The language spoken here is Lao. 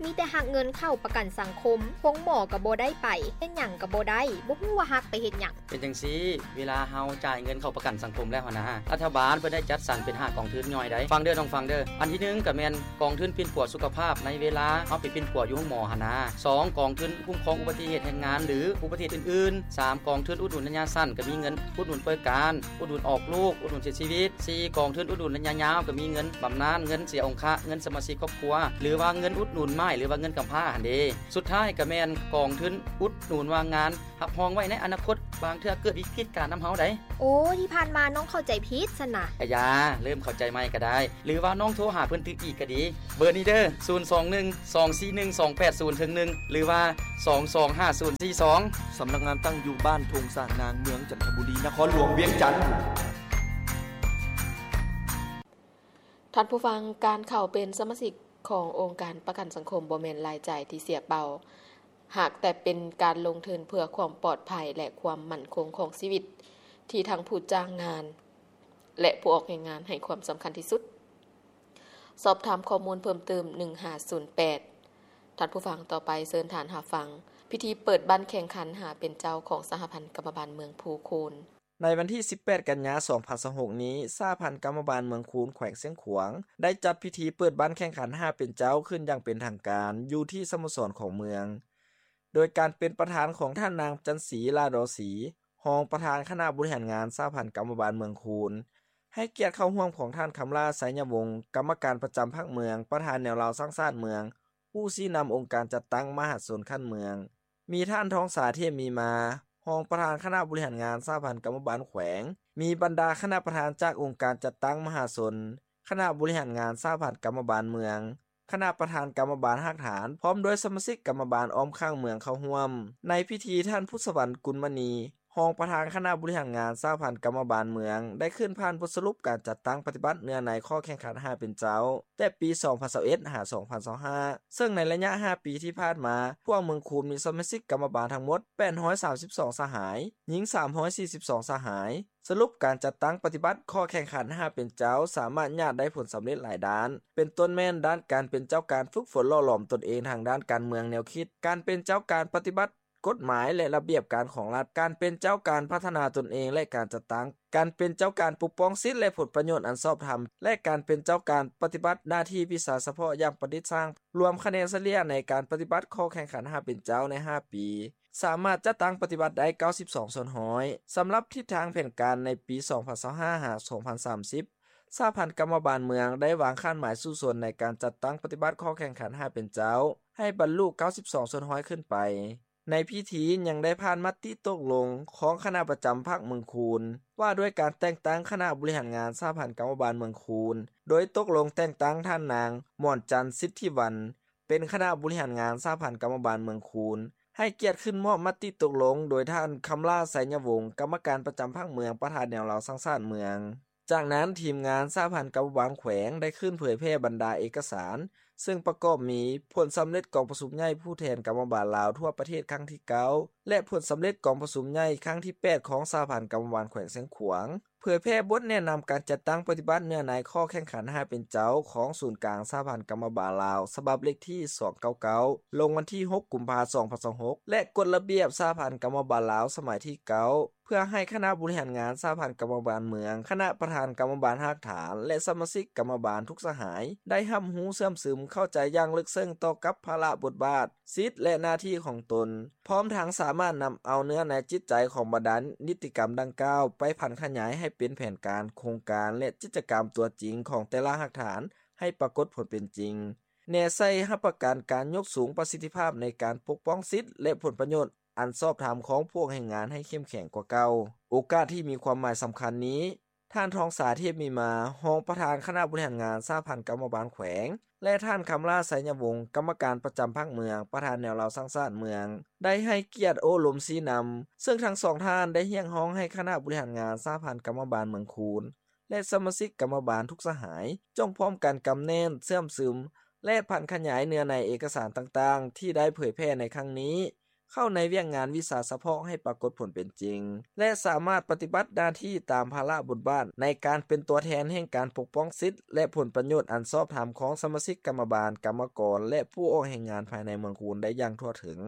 ມີແຕ່ຫັກເງິນເຂົ້າປະກັນສັງຄົມ, ໂຮງໝໍກໍບໍ່ໄດ້ໄປ, ເຮັດຫຍັງກໍບໍ່ໄດ້, ບໍ່ຮູ້ວ່າຫັກໄປເຮັດຫຍັງ. ເປັນຈັ່ງຊີ້, ເວລາເຮົາຈ່າຍເງິນເຂົ້າປະກັນສັງຄົມແລ້ວຫັ້ນນະ, ລັດຖະບານເພິ່ນໄດ້ຈັດສັນເປັນຫ້າກອງທຶນຍ່ອຍໃດ໋. ຟັງເດີນ້ອງ, ຟັງເດີ. ອັນທີໜຶ່ງກໍແມ່ນກອງທຶນປິ່ນປົວສຸຂະພາບໃນເວລາເຮົາໄປປິ່ນປົວຢູ່ໂຮງໝໍຫັ້ນນະ. ສອງ ກອງທຶນຄຸ້ມຄອງອຸບັດຕິເຫດແຮງງານ ຫຼື ອຸບັດຕິເຫດອື່ນໆ. ສາມ ກອງທຶນອຸດໜູນໄລຍະສັ້ນ ກໍມີເງິນອຸດໜູນປ່ວຍການ, ອຸດໜູນອອກລູກ, ອຸດໜູນເສຍຊີວິດ. ສີ່ ກອງທຶນອຸດໜູນໄລຍະຍາວ ກໍມີເງິນບຳນານ, ເງິນເສຍອົງຄະ, ເງິນສະມາຊິກຄອບຄົວ ຫຼືວ່າເງິນອຸດໜູນໝ້າຍ ຫຼືວ່າເງິນກຳພ້າຫັ້ນເດ. ສຸດທ້າຍກໍແມ່ນກອງທຶນອຸດໜູນວ່າງງານ ຮັບຮອງໄວ້ໃນອະນາຄົດ, ບາງເທື່ອເກີດວິກິດການນຳເຮົາໃດ໋. ໂອ້, ທີ່ຜ່ານມານ້ອງເຂົ້າໃຈຜິດຊັ້ນນະ. ອາຢາ, ເລີ່ມເຂົ້າໃຈໃໝ່ກໍໄດ້ ຫຼືວ່ານ້ອງໂທຫາເພິ່ນຕື່ມອີກກໍດີ. ເບີນີ້ເດີ, ສູນສອງໜຶ່ງ ສອງສີ່ໜຶ່ງ ສອງແປດສູນເທິງໜຶ່ງ ຫຼືວ່າ ສອງສອງຫ້າສູນສີ່ສອງ. ສຳນັກງານຕັ້ງຢູ່ບ້ານທົ່ງສານນາງ ເມືອງຈັນທະບູລີ ນະຄອນຫຼວງວຽງຈັນ. ທ່ານຜູ້ຟັງ, ການເຂົ້າເປັນສະມາຊິກຂອງອົງການປະກັນສັງຄົມບໍ່ແມ່ນລາຍຈ່າຍທີ່ເສຍເປົ່າ, ຫາກແຕ່ເປັນການລົງທຶນເພື່ອຄວາມປອດໄພ ແລະ ຄວາມໝັ້ນຄົງຂອງຊີວິດ ທີ່ທັງຜູ້ຈ້າງງານ ແລະ ຜູ້ອອກແຮງງານໃຫ້ຄວາມສຳຄັນທີ່ສຸດ. ສອບຖາມຂໍ້ມູນເພີ່ມເຕີມ ໜຶ່ງຫ້າສູນແປດ. ທ່ານຜູ້ຟັງ, ຕໍ່ໄປເຊີນທ່ານຮັບຟັງພິທີເປີດບັ້ນແຂ່ງຂັນຫາເປັນເຈົ້າຂອງສະຫະພັນກຳມະບານເມືອງພູຄູນ. ໃນວັນທີສິບແປດ ກັນຍາ ສອງພັນຊາວຫົກນີ້, ສະຫະພັນກຳມະບານເມືອງຄູນ ແຂວງຊຽງຂວາງ ໄດ້ຈັດພິທີເປີດບັ້ນແຂ່ງຂັນຫາເປັນເຈົ້າຂຶ້ນຢ່າງເປັນທາງການ ຢູ່ທີ່ສະໂມສອນຂອງເມືອງ, ໂດຍການເປັນປະທານຂອງທ່ານນາງ ຈັນສີ ຫຼ້າດໍສີ, ຮອງປະທານຄະນະບໍລິຫານງານສະຫະພັນກຳມະບານເມືອງຄູນ, ໃຫ້ກຽດເຂົ້າຮ່ວມຂອງທ່ານ ຄຳຫຼ້າ ໄຊຍະວົງ, ກຳມະການປະຈຳພັກເມືອງ, ປະທານແນວລາວສ້າງຊາດເມືອງ, ຜູ້ຊີ້ນຳອົງການຈັດຕັ້ງມະຫາຊົນຂັ້ນເມືອງ, ມີທ່ານ ທອງສາ ເທບມີມາ, ຮອງປະທານຄະນະບໍລິຫານງານສະຫະພັນກຳມະບານແຂວງ, ມີບັນດາຄະນະປະທານຈາກອົງການຈັດຕັ້ງມະຫາຊົນ, ຄະນະບໍລິຫານງານສະຫະພັນກຳມະບານເມືອງ, ຄະນະປະທານກຳມະບານຮາກຖານ, ພ້ອມດ້ວຍສະມາຊິກກຳມະບານອ້ອມຂ້າງເມືອງເຂົ້າຮ່ວມ. ໃນພິທີ, ທ່ານ ພຸດສະຫວັນ ກຸນມະນີ, ຮອງປະທານຄະນະບໍລິຫານງານສະຫະພັນກຳມະບານເມືອງ ໄດ້ຂຶ້ນຜ່ານບົດສະຫຼຸບການຈັດຕັ້ງປະຕິບັດເນື້ອໃນຂໍ້ແຂ່ງຂັນຫາເປັນເຈົ້າ ແຕ່ປີສອງພັນຊາວເອັດ ຫາ ສອງພັນຊາວຫ້າ ເຊິ່ງໃນໄລຍະຫ້າປີທີ່ຜ່ານມາ, ພວກເມືອງຄູນມີສະມາຊິກກຳມະບານທັງໝົດ ແປດຮ້ອຍສາມສິບສອງສະຫາຍ, ຍິງສາມຮ້ອຍສີ່ສິບສອງສະຫາຍ. ສະຫຼຸບການຈັດຕັ້ງປະຕິບັດຂໍ້ແຂ່ງຂັນຫາເປັນເຈົ້າ ສາມາດຍາດໄດ້ຜົນສຳເລັດຫຼາຍດ້ານ, ເປັນຕົ້ນແມ່ນດ້ານການເປັນເຈົ້າການຝຶກຝົນຫຼໍ່ຫຼອມຕົນເອງທາງດ້ານການເມືອງແນວຄິດ, ການເປັນເຈົ້າການປະຕິບັດ ກົດໝາຍ ແລະ ລະບຽບການຂອງລັດ, ການເປັນເຈົ້າການພັດທະນາຕົນເອງ ແລະ ການຈັດຕັ້ງ, ການເປັນເຈົ້າການປົກປ້ອງສິດ ແລະ ຜົນປະໂຫຍດອັນຊອບທຳ ແລະ ການເປັນເຈົ້າການປະຕິບັດໜ້າທີ່ວິຊາສະເພາະຢ່າງປະດິດສ້າງ, ລວມຄະແນນສະເລ່ຍໃນການປະຕິບັດຂໍ້ແຂ່ງຂັນຫາເປັນເຈົ້າໃນຫ້າປີ ສາມາດຈັດຕັ້ງປະຕິບັດໄດ້ເກົ້າສິບສອງສ່ວນຮ້ອຍ. ສຳລັບທິດທາງແຜນການໃນປີສອງພັນຊາວຫ້າ ຫາ ສອງພັນສາມສິບ, ສະຫະພັນກຳມະບານເມືອງໄດ້ວາງຄາດໝາຍສູ້ຊົນໃນການຈັດຕັ້ງປະຕິບັດຂໍ້ແຂ່ງຂັນຫາເປັນເຈົ້າ ໃຫ້ບັນລຸເກົ້າສິບສອງສ່ວນຮ້ອຍຂຶ້ນໄປ. ໃນພິທີຍັງໄດ້ຜ່ານມະຕິຕົກລົງຂອງຄະນະປະຈຳພັກເມືອງຄູນ ວ່າດ້ວຍການແຕ່ງຕັ້ງຄະນະບໍລິຫານງານສະຫະພັນກຳມະບານເມືອງຄູນ, ໂດຍຕົກລົງແຕ່ງຕັ້ງທ່ານນາງ ໝອນຈັນ ສິດທິວັນ ເປັນຄະນະບໍລິຫານງານສະຫະພັນກຳມະບານເມືອງຄູນ, ໃຫ້ກຽດຂຶ້ນມອບມະຕິຕົກລົງໂດຍທ່ານ ຄຳຫຼ້າ ໄຊຍະວົງ ກຳມະການປະຈຳພັກເມືອງ, ປະທານແນວລາວສ້າງຊາດເມືອງ. ຈາກນັ້ນ, ທີມງານສະຫະພັນກຳມະບານແຂວງໄດ້ຂຶ້ນເຜີຍແຜ່ບັນດາເອກະສານ ເຊິ່ງປະກອບມີຜົນສຳເລັດກອງປະຊຸມໃຫຍ່ຜູ້ແທນກຳມະບານລາວທົ່ວປະເທດຄັ້ງທີເກົ້າ ແລະ ຜົນສຳເລັດກອງປະຊຸມໃຫຍ່ຄັ້ງທີແປດຂອງສະຫະພັນກຳມະບານແຂວງຊຽງຂວາງ, ເຜີຍແຜ່ບົດແນະນຳການຈັດຕັ້ງປະຕິບັດເນື້ອໃນຂໍ້ແຂ່ງຂັນຫາເປັນເຈົ້າຂອງສູນກາງສະຫະພັນກຳມະບານລາວ ສະບັບເລກທີສອງເກົ້າເກົ້າ ລົງວັນທີຫົກ ກຸມພາ ສອງພັນຊາວຫົກ ແລະ ກົດລະບຽບສະຫະພັນກຳມະບານລາວສະໄໝທີເກົ້າ ເພື່ອໃຫ້ຄະນະບໍລິຫານງານສະຫະພັນກຳມະບານເມືອງ, ຄະນະປະທານກຳມະບານຮາກຖານ ແລະ ສະມາຊິກກຳມະບານທຸກສະຫາຍ ໄດ້ຮັບຮູ້ເຊື່ອມຊຶມເຂົ້າໃຈຢ່າງເລິກເຊິ່ງຕໍ່ກັບພາລະບົດບາດ, ສິດ ແລະ ໜ້າທີ່ຂອງຕົນ, ພ້ອມທັງສາມາດນຳເອົາເນື້ອໃນຈິດໃຈຂອງບັນດານິຕິກຳດັ່ງກ່າວໄປຜັນຂະຫຍາຍໃຫ້ເປັນແຜນການ, ໂຄງການ ແລະ ກິດຈະກຳຕົວຈິງຂອງແຕ່ລະຮາກຖານໃຫ້ປາກົດຜົນເປັນຈິງ, ແນໃສ່ຮັບປະກັນການຍົກສູງປະສິດທິພາບໃນການປົກປ້ອງສິດ ແລະ ຜົນປະໂຫຍດ ອັນຊອບທຳຂອງພວກແຮງງານໃຫ້ເຂັ້ມແຂງກວ່າເກົ່າ. ໂອກາດທີ່ມີຄວາມໝາຍສຳຄັນນີ້, ທ່ານ ທອງສາ ເທບມີມາ, ຮອງປະທານຄະນະບໍລິຫານງານສະຫະພັນກຳມະບານແຂວງ ແລະ ທ່ານ ຄຳຫຼ້າ ໄຊຍະວົງ, ກຳມະການປະຈຳພັກເມືອງ, ປະທານແນວລາວສ້າງຊາດເມືອງ, ໄດ້ໃຫ້ກຽດໂອ້ລົມຊີ້ນຳ, ເຊິ່ງທັງສອງທ່ານໄດ້ຮຽກຮ້ອງໃຫ້ຄະນະບໍລິຫານງານສະຫະພັນກຳມະບານເມືອງຄູນ ແລະ ສະມາຊິກກຳມະບານທຸກສະຫາຍ ຈົ່ງພ້ອມກັນກຳແໜ້ນ, ເຊື່ອມຊຶມ ແລະ ຜັນຂະຫຍາຍເນື້ອໃນເອກະສານຕ່າງໆ ທີ່ໄດ້ເຜີຍແຜ່ໃນຄັ້ງນີ້ ເຂົ້າໃນວຽກງານວິຊາສະເພາະໃຫ້ປາກົດຜົນເປັນຈິງ ແລະ ສາມາດປະຕິບັດໜ້າທີ່ຕາມພາລະບົດບາດ ໃນການເປັນຕົວແທນແຫ່ງການປົກປ້ອງສິດ ແລະ ຜົນປະໂຫຍດອັນຊອບທຳຂອງສະມາຊິກກຳມະບານ, ກຳມະກອນ ແລະ ຜູ້ອອກແຮງງານພາຍໃນເມືອງຄູນໄດ້ຢ່າງທົ່ວເຖິງ.